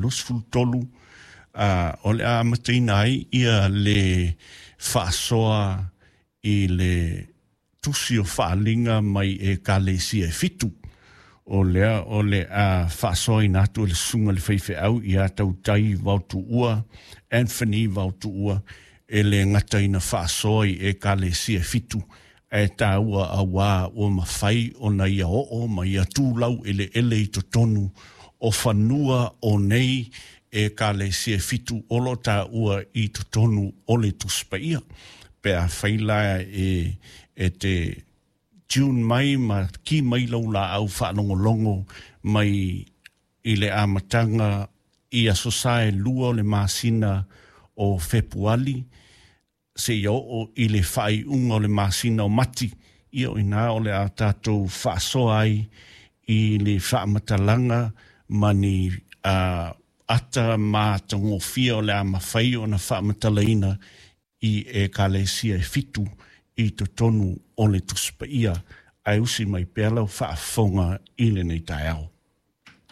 23, o le a amataina ai ia le faasoa i le tusi o faaaliga mai Ekalesia e 7. O lea o le a faasoaina atu e le susuga i le faifeau ia Tautai Vaotuua, Anthony Vaotuua, e le gata ina faasoa i Ekalesia e 7, ae taua auā ua mafai ona ia oo ma ia tulau eleele i totonu o fanua o nei Ekalesia e 7 o lo o taua i totonu o le Tusi Paia. Pe afai la e te tune mai ma ki mai lau laau faalogologo mai i le amataga i Aso Sa e 2 o le masina o Fepuali seia oo i le faaiuga o le masina o Mati, ia o ina o le a tatou faasoa ai i le faamatalaga ma ni ata matagofie o le a mafai ona faamatalaina i Ekalesia e 7 i totonu o le Tusi Paia. Ae usi mai pea lau faafofoga i lenei taeao.